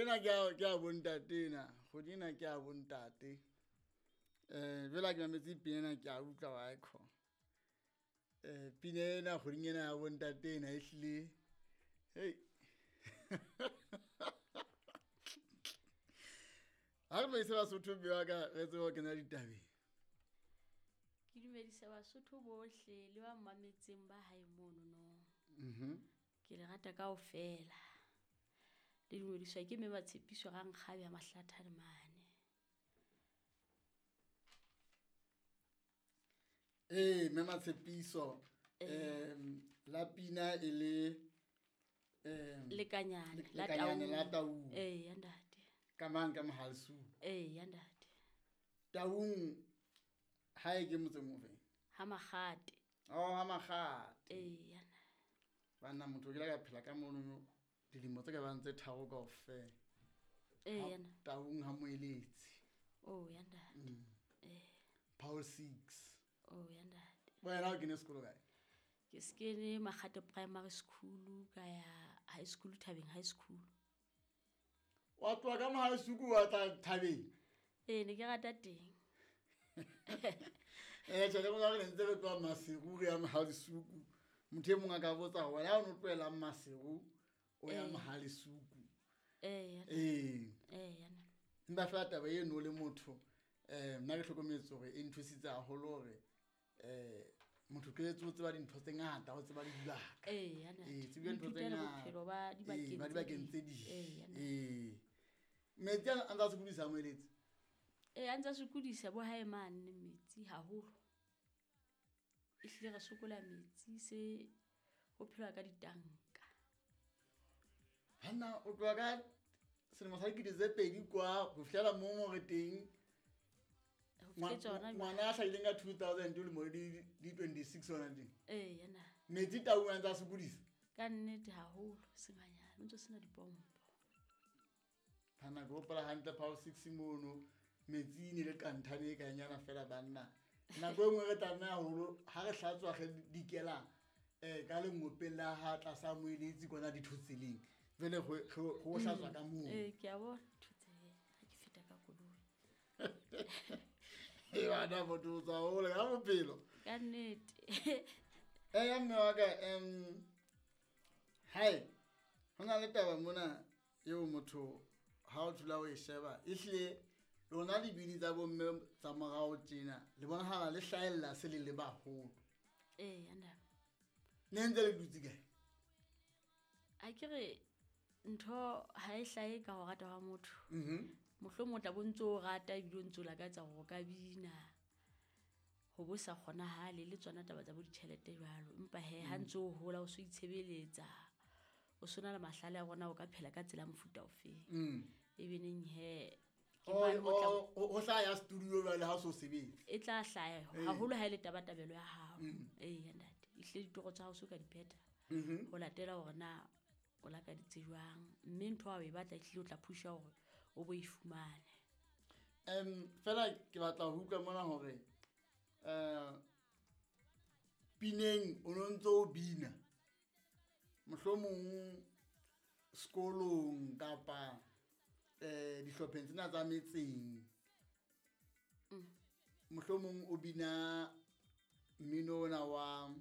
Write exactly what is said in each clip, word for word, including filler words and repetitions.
ena ke a ke a bontate ena. Kgwedi ena ke a bontate. Eh jwale ha ke mametse pina ena ke a utlwa wa ekho. Eh pina ena kgweding ena ya bontate ena ehlile. Hey. Ha re dumedise Basotho mme wa ka re tsebe ho kena ditabeng. Ke dumedisa Basotho bohle le ba mmametseng ba hae mono no. Mhm. Ke le rata kaofela. Le dumediswa ke mme Matshepiso Rankgabe ya Mahlathane mane. Eh mme Matshepiso em la pina e le em Lekanyane la Lekanyane la Taung. Taung. Eh ya ntate. Ka mang ka Mohalesu. Eh ya ntate. Taung hae ke motseng ofe? Ha Makgate. Oh ha Makgate. Eh ya. Banna motho ke la ka phela ka mono dilemo tse ka bang tse tharo kaofela. Eh ya. Taung ha Moeletsi. Oh ya ntate. Mm. Eh. Paul six. Oh ya ntate. Wena o kene sekolo kae? Ke se kene Makgate Primary School ka ya high school Thabeng High School. Wa tloha ka Mohalesuku wa tla Thabeng? Eh ne ke rata teng. Eh tjhe le bona re ntse re tloha Maseru re ya Mohalesuku. Motho e mong a ka botsa hore wena o no tlohela Maseru o ya Eh. Mohalesuku. Eh ya. Eh. Eh ya. Empa feela taba eno le motho eh nna ke hlokometse hore e nthusitse haholo hore eh motho ke etse o tseba dintho tse ngata, o tseba le dibaka. Eh ya ntate. Eh tseba dintho tse Ithutela ngata. bophelo ba Eh, dibakeng ba tse dibakeng ding. tse ding. Eh ya ntate. Eh. Metsi a ntsa sokodisa Moeletsi? Eh a ntsa sokodisa bo hae mane metsi haholo. Ehlile re sokola metsi se ho phelwa ka ditanka. Banna o tloha ka selemo sa dikete tse pedi kwa ho fihlela moo mo re teng. Ho fihletse hona jwale. Ngwana a hlahileng ka two thousand o lemo di di twenty-six hona teng. Eh ya na. Metsi Taung a ntsa sokodisa? Ka nnete haholo senganyane, o ntso sena dipompo. Banna ke hopola hantle Paul six mono metsi ne le kanthane e kanyana fela banna. Nako e nngwe re tlameha haholo ha re hlatswa re dikela eh ka lengopeng la ha tlasa Moeletsi kwana dithotseleng. Jwale ho ho hlatswa ka moo. Eh ke a bona dithotseleng ha ke feta ka koloi. Eh bana motho o tswa hole ka bophelo. Ka nnete. Eh ya mme wa ka em hai ho na le taba mona eo motho ha o dula o e sheba ehlile lona dibini tsa bomme tsa morao tjena le bonahala le hlahella se le le baholo. Eh ya nna. Ne ntse le dutse kae? A ke re ntho ha e hlahe ka ho rata ha motho. Mhm. Mohlomong o tla bo ntso o rata ebile o ntso lakatsa hore o ka bina. Ho bo sa kgonahale le tsona taba tsa bo ditjhelete jwalo. Empa he ha ntso o hola o so itshebeletsa. O sona le mahlale a rona o ka phela ka tsela ya mofuta ofeng. Mm. Ebe neng he ke O mane mo tla o o hlaya ya studio jwale ha o so sebetse. E tla hlaya Eh. haholo ha e le tabatabelo ya hao. Mm. Eh ya ntate. Ehlile ditoro tsa hao so ka di phetha. Mhm. Ho latela hore na o lakaditse jwang mme ntho ha o e batla ehlile o tla pusha hore o bo e fumane. Em fela ke batla ho utlwa mona hore eh pineng o no ntso o bina. Mohlomong sekolong kapa eh dihlopheng tsena tsa metseng. Mm. Mohlomong o bina mmino ona wa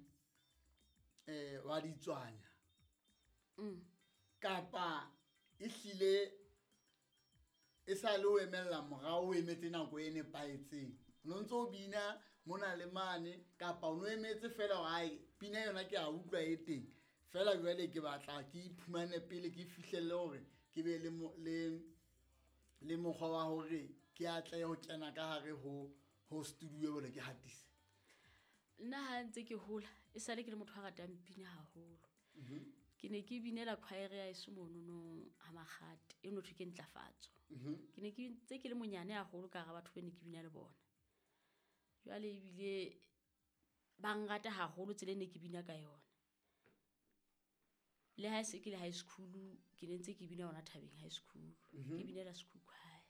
eh wa ditswanya. Mm. Kapa ehlile e sa le o emella morao o emetse nako e nepahetseng. O no ntso o bina mona le mane kapa o no emetse fela hore ai pina yona ke a utlwa e teng. Fela jwale ke batla ke iphumane pele ke fihlelle hore ke be le mo, le, le mokgwa wa hore ke atlehe ho kena ka hare ho, ho studio jwale ke hatise. Nna ha ntse ke hola e sale ke le motho a ratang pina haholo. Mhm. Ke ne ke binela choir ya heso monono ha Makgate e no thwe ke Ntlafatso. Mhm. Ke ne ke ntse ke le monyane haholo ka hara batho ba ne ke bina le bona. Jwale ebile ba nrata haholo tsela e ne ke bina ka yona. Le ha se ke le high school ke ne ntse ke bina hona Thabeng High School. Mhm. Ke binela school choir.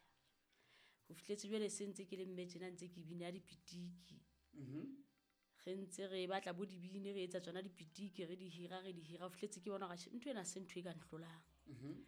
Ho fihletse jwale se ntse ke le mme tjena ntse ke bina dipitiki. Mhm. Re ntse re batla bo dibini re etsa tsona dipitiki re di hira re di hira ho fihletse ke bona hore ntho ena se ntho e ka nhlolang. Mhm.